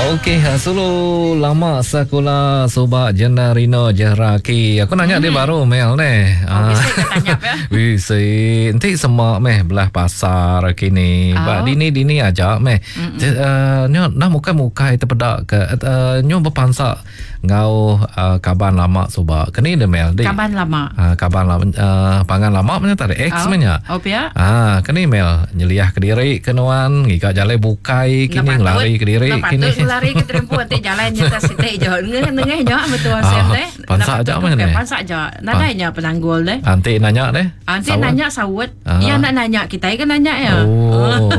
Okey, sulu lama sekula suba jena Rino Jeraki. Aku nanya mm. dia baru Mel ne. Oh, bisi ke tanya pe? Bisi. Enti sema meh belah pasar kini. Oh. Ba dini-dini aja meh. Uh, nyo nah mukai-mukai tepeda ke uh, nyo bepansa Enggau uh, kaban lama suba. Keni dia Mel? Di, kaban lama. Uh, kaban lama uh, pangan lama punya tadi ex oh. punya. Oh pia. Ah, keni Mel nyeliah ke diri ke nuan ngiga jalai bukai kini ngelari ke diri kini. Patut ngelari ke terempu ati jalai nyata siti je. Nengah nengah nya betul oh, sem deh. Pansa aja mah ni. Pansa aja. Nadai nya penanggul deh. Anti nanya deh. Anti nanya saut. Iya nak nanya kitai ke nanya ya. Oh.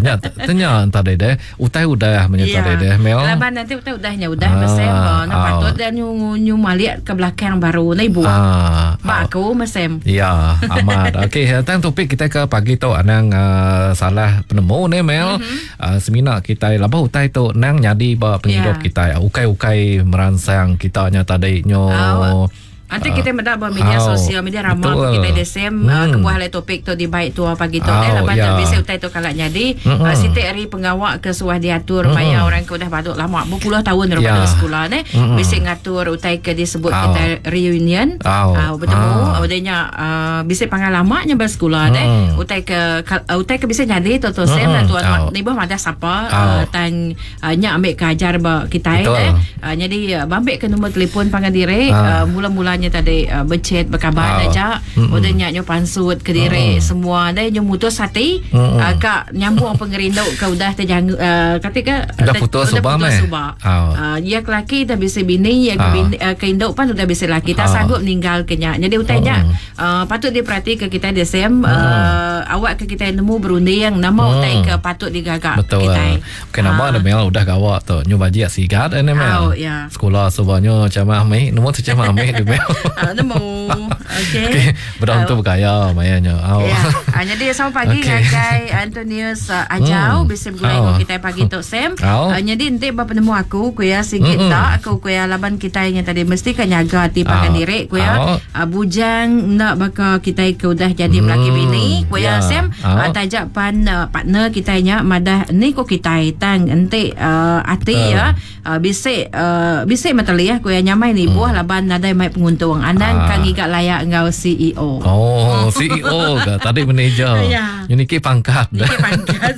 Nya tanya tadi deh. Utai udah menyerta yeah. deh Mel. Laban nanti utai udah nya udah ah, mesem na patut dia nyu nyu malik ke belakang baru na ibu. Ah, ba aku mesem. Ya, amat. Okey, tentang topik kita ke pagi tu anang uh, salah penemu ni Mel. Mm-hmm. Uh, semina kita laba utai tu nang nyadi ba penghidup yeah. kita. Ukai-ukai meransang kita nya tadi nyo. Uh, Anti kita meda ba media oh, sosial media rama betul. kita the same hmm. uh, kebuah alai topik tu dibai tua pagi tu eh laban yeah. bisi utai tu kala nyadi hmm. uh, siti ari pengawa ke suah diatur hmm. maya orang ke udah baduk lama berpuluh tahun yeah. pada sekolah ne hmm. bisi ngatur utai ke disebut oh. kita reunion oh. uh, bertemu oh. udah nya uh, bisi pengalaman nya bersekolah hmm. ne utai ke uh, utai ke bisi nyadi tu tu sem hmm. tuan oh. ni bah madah sapa oh. uh, tang Uh, nya ambil ke ajar ba kitai eh. Uh, jadi uh, bambik ke nombor telefon pangan diri uh. Uh, mula-mulanya tadi uh, berchat berkabar uh. aja. Mm-mm. Udah nya nyo pansut ke diri mm. semua deh nyo mutus hati uh, ka nyambung pengerindu ke udah terjang uh, kata ke udah putus suba meh. Uh. Uh, ya ke laki dah bisi bini ya ke, uh. bini, uh, ke induk pan udah bisi laki tak uh. sanggup ninggal ke nya. Jadi utai nya uh, patut diperhati ke kitai DSM uh, mm. awak ke kitai nemu berunding nama mm. utai ke patut digaga Betul. kitai. Bukan nama ha. Mel udah gawa tu. Nyu bajik sigat eh Mel. Oh, ya. Sekolah suba nyu camah amik. Nemu tu camah amik di Mel. Ah, nemu. Okey. Okey, bedau tu bergaya maya nyu. Oh. Ya. Ah, jadi selamat pagi okay. ngagai Antonius uh, Ajau hmm. bisi begulai oh. kita pagi tu Sam. Oh. Uh, jadi enti ba penemu aku ku ya sigit mm-hmm. tak aku ku ya laban kita nya tadi mesti ka nyaga ati pangan oh. diri ku ya. Oh. Uh, bujang enda baka kitai ke udah jadi hmm. melaki bini ku ya yeah. Sam. Oh. Uh, taja pan uh, partner kitai nya madah ni ko kitai tang enti uh, ati Betul. ya uh, bisi uh, bisi metelih ku ya nyamai nibuh hmm. laban nadai mai penguntung anang Ah. ka ngiga layak enggau CEO. Oh, CEO ke? Tadi manager. Ya. Nyu niki pangkat. Niki pangkat.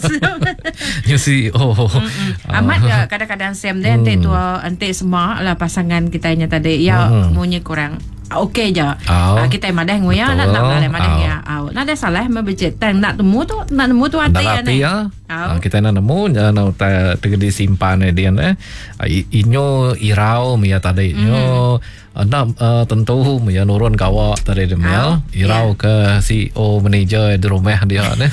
Nyu CEO. Mm-mm. Amat ke kadang-kadang Sam deh enti tua enti semua lah pasangan kitai nya tadi ya Hmm. munyi kurang okey je. Au. Ah, kitai madah nguya nak nak Betul. madah madah Au. ya. Au. Nadai salah meh becet tang nak temu tu nak nemu tu ati Dalam ya ati ni. ya. Au. Ah, kita nak nemu nya nak utai tegedi simpan eh dia eh. Ah, Inyo irau mia tadi. Inyo nak uh, tentu mia nurun gawa tadi dia mel. Au. Irau ke CEO manager di rumah dia ne.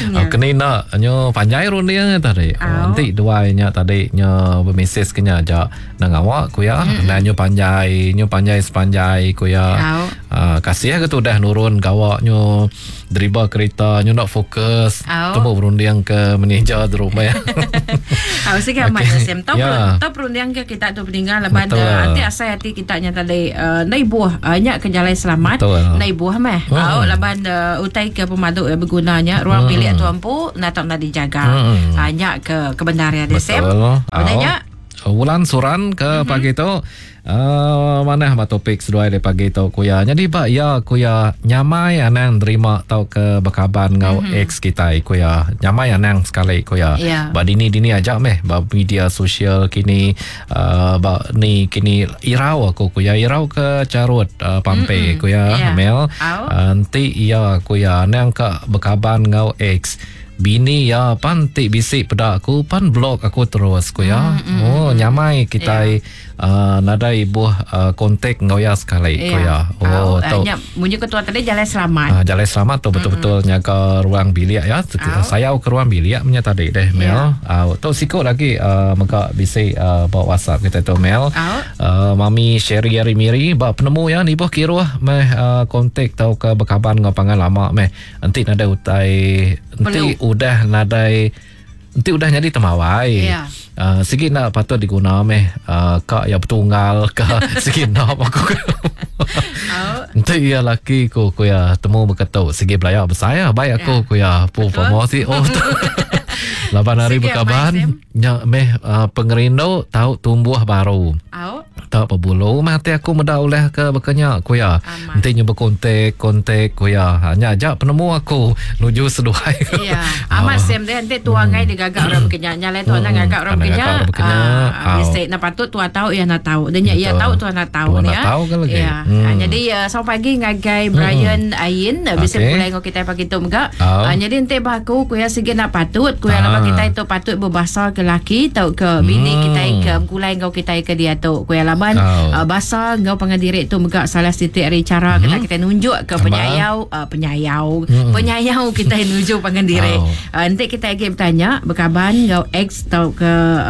Ya. Ah, keni nak nyo panjai runding tadi. Au. Oh, nanti duai nya tadi nyo bermeses ke nya aja nang awak ku ya. Nah nyo panjai, nyo panjai sepanjai ku ya. Au. Ah, kasih ke tu dah nurun gawak nyo deriba kereta nyo nak fokus Au. temu berunding ke manager di rumah. Au sigi amat Okey. okay. Sam. Tau Ya. yeah. tau perunding ke kita tu peninggal laban Betul. uh, ati asai ati kita nya tadi uh, nai buah uh, nya ke jalai selamat Betul. nai buah meh. Hmm. Au laban uh, utai ke pemadu uh, bergunanya ruang Hmm. bilik tu empu nak tak nak dijaga. Hmm. Uh, nya ke kebenaran dia Sam. Betul. Udah nya Wulan suran ke mm-hmm. pagi tu uh, mana ba topik seduai dari pagi tu kuya. Jadi ba ya kuya nyamai anang terima tau ke berkaban ngau mm-hmm. ex kita kuya. Nyamai anang sekali kuya. Ya. Ba dini-dini aja meh ba media sosial kini uh, ba ni kini irau aku kuya irau ke carut uh, pampe mm-hmm. kuya Ya. Mel. Au. Uh, Nanti iya kuya anang ka berkaban ngau ex. Bini ya pan ti bisi peda aku pan blok aku terus ku ya. Mm, oh nyamai kita yeah. uh, nadai ibuh uh, kontak ngau ya sekali ku ya. Oh Au, uh, tu. nya munyi ketua tadi jalan selamat. Uh, jalan selamat tu betul-betul mm nyaga ruang bilik ya. Au. Sayau ke ruang bilik punya tadi deh Mel. Ya. Uh, tu sikut lagi uh, mega bisi uh, bawa WhatsApp kita tu Mel. Au. Uh, Mami Sherry Ari Miri ba penemu ya ni boh kiruh meh uh, kontak tau ke berkaban ngau pangan lama meh. Enti nadai utai enti udah nadai enti udah jadi temawai. Ya. Uh, sigi nak patut diguna meh uh, kak ya betunggal ke sigi nak aku. Au. Enti ia laki ku ku ya temu berketuk sigi belaya besar ya baik aku Ya. ku ya pu Betul. promosi oh tu. Laban hari bekaban nya meh uh, pengerindu tau tumbuh baru. Au. Tak pebulu meh ati aku meda ulah ke baka nya ku iya. Enti nyu bekontak kontak ku iya. Ha, nya aja penemu aku nuju seduai. Iya. Amat Sam deh enti tua ngai digaga orang baka nya. Nya alai tua anang ngaga orang baka nya. Ah, bisi enda patut tua tau iya enda tau. Nya iya tau tua enda tau nya. Tau ke lagi. Iya. Jadi selamat pagi ngagai Brian Ayin bisi begulai enggau kitai pagi tu mega. Nyadi enti ba aku ku iya sigi enda patut ku iya laban kitai tu patut bebasa ke laki tauka bini kitai ke begulai enggau kitai ke diatu ku iya laban basa enggau pangan diri tu mega salah siti ari chara kena kitai nunjukka penyayau penyayau penyayau kitai nuju pangan diri. Enti kitai agi betanya bekaban enggau ex tauka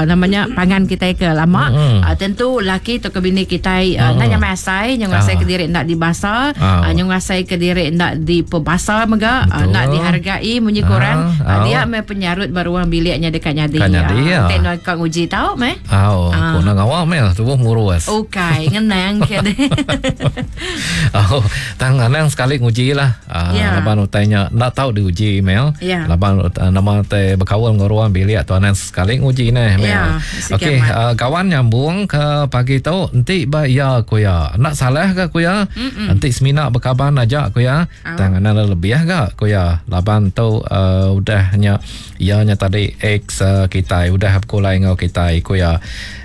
nama nya pangan kitai ke lama tentu laki tauka bini kitai enda nyamai asai nyau ngasai ke diri enda dibasa nyau ngasai ke diri enda dipebasa mega enda dihargai munyi ku orang dia meh penyarut ba ruang bilik nya deka nyadi. Enti nuan ka nguji tau meh. Au, aku enda ngawa meh tubuh ngurus. Ukai ngenang ke deh. Au, tang anang sekali nguji lah. Uh, yeah. Laban utai nya enda tau diuji mel. Yeah. Laban uh, nama te bekaul enggau ruang bilik tu anang sekali nguji neh mel. Yeah. Okey, uh, kawan nyambung ke pagi tu enti ba iya ku iya. Enda salah ke ku iya? Enti semina bekaban aja ku iya. Oh. Tang anang lebih ga ku iya. Laban tu uh, udah nya iya nya tadi ex uh, kitai udah bekulai enggau kitai ku iya.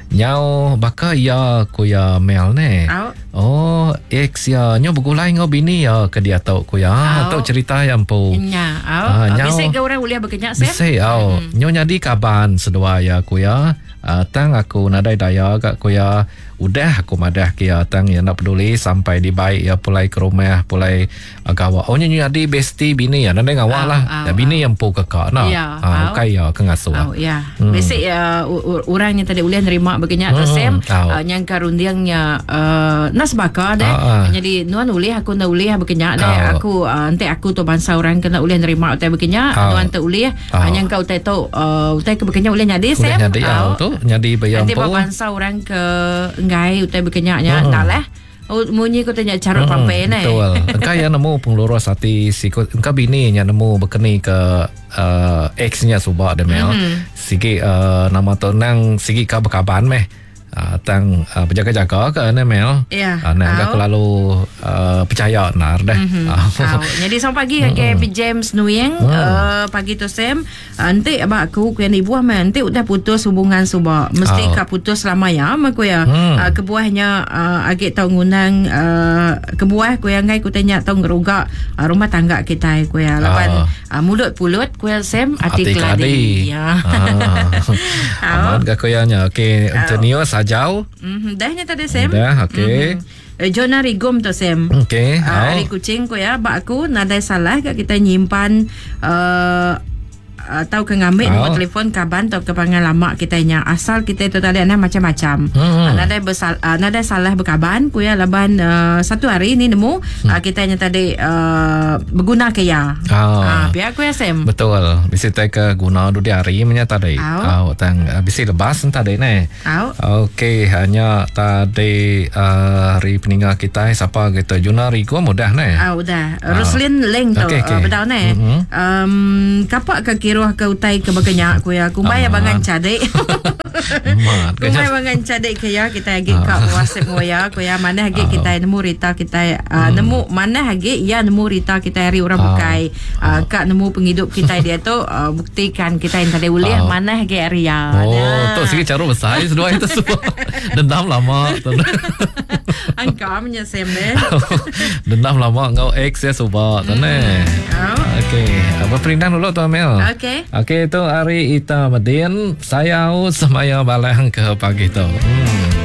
Nyau baka iya ku iya Mel neh. Au. Oh, ex iya nyau begulai enggau bini iya ke diatu ku iya. Au. Tu cerita iya empu. Nya, au. Ah, nyau. Bisi ke orang ulih bekenya Sam? Bisi au. Mm. Nyau nyadi kaban seduai iya ku iya. Uh, tang aku nadai daya ga ku iya. Udah aku madah ke iya tang iya enda peduli sampai dibai iya pulai ke rumah pulai Gawa. Oh nya nyadi bestie bini iya nadai ngawa lah. Au, bini iya empu ke ka nah. Ya, ha, ukai iya ke ngasuh. Au, ya. Hmm. Bisi uh, orang nya tadi ulih nerima begenya hmm. tu Sam. Uh, nyangka rundingnya uh, nas baka deh. Uh, uh. Jadi nuan ulih aku nda ulih begenya deh. Aku uh, enti aku tu bansa orang kena ulih nerima utai begenya, nuan tu ulih. Uh, nyangka utai tu uh, utai ke begenya ulih nyadi Sam. Ulih nyadi au tu nyadi bayam empu. Enti bansa orang ke enggai utai begenya nya hmm. lah. Oh, munyi ku tanya carut hmm, pampai ne. Betul. Engka iya nemu pengelurus ati siku engka bini nya nemu bekeni ke uh, ex nya suba deh mel. Mm. Sigi uh, nama tu nang sigi ka bekaban meh. Uh, tang uh, berjaga-jaga ke ne mel. Yeah. Uh, nang uh, kelalu uh, percaya nar deh. Mm-hmm. Uh. Jadi selamat pagi mm. ke James Nuing mm. uh, pagi tu Sam. Enti ba aku ku iya nibuh meh enti udah putus hubungan suba mesti ka putus selama iya meh ku iya. Kebuah nya agi tau ngundang kebuah ku iya enggai ku utai nya tau ngeruga rumah tangga kitai ku iya laban mulut pulut ku iya Sam ati keladi. Ya. Amat ga ku iya nya. Okey Antonius Ajau. Dah nya tadi Sam. Dah okey. Jonah Rigum tu Sam. Okey. Ari Kuching ku iya ba aku nadai salah ga kitai nyimpan uh, tauka ngambi nombor telefon kaban tauka pangan lama kitai nya asal kitai tu tadi anang macam-macam. Hmm. Nadai besal, uh, nadai salah bekaban ku iya laban uh, satu hari ni nemu hmm. uh, kitai nya tadi uh, beguna ke iya. Oh. Uh, pia ku iya Sam. Betul. Bisi tai ke guna dudi hari menya tadi. Oh, tang uh, bisi lebas tadi ne. Au. Okey, nya tadi uh, hari peninga kitai sapa gitu Juna Rigum udah neh. Ah udah. Roslin Leng tu Okey, okey. uh, bedau neh. Mhm. Um, kapak ke kiruh ke utai ke baka nya ku ya. Kumbai Amat. abangan cadik. Amat. Kumbai abangan cadik ke ya kitai agi ka WhatsApp enggau ya ku ya manah agi Ah. kitai nemu rita kitai uh, nemu manah agi ya nemu rita kitai ari orang Ah. bukai. Uh, ka nemu pengidup kitai diatu uh, buktikan kitai enti ulih Ah. manah agi ari ya. Oh, Nah. tu sigi cara besai seduai tu semua. Dendam lama tu. Angka nya Sam deh. Dendam lama enggau ex ya suba tu neh. Oh. Okey, apa perindang dulu tu Amel. Okey. Okey, tu hari Ita Medin, sayau semaya balang ke pagi tu. Hmm.